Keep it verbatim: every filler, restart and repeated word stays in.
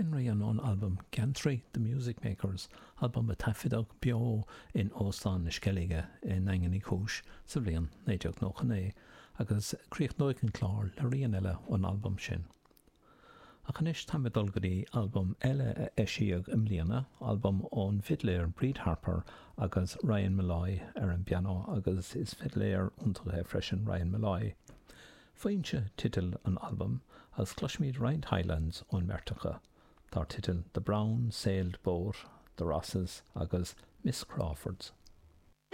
B'in rian ón albam Geantraí, The Music Makers, albam a taifeadadh beo in Óstán na Sceilge i nDaingean Uí Chúis sa bhliain naoi déag nócha naoi, agus críochnóidh an clár le rian eile ón albam sin. Ach anois táim ag dul go dtí albam eile a eisíodh i mbliana, albam ón bhfidléir Bríd Harper agus Ryan Molloy ar an bpianó agus is fidléir iontach é freisin Ryan Molloy. Foinse teideal an albaim agus cloisfimid roinnt Highlands ón mbeirt acu, dar teideal The Brown Sailed Boat, The Rosses agus Miss Crawford's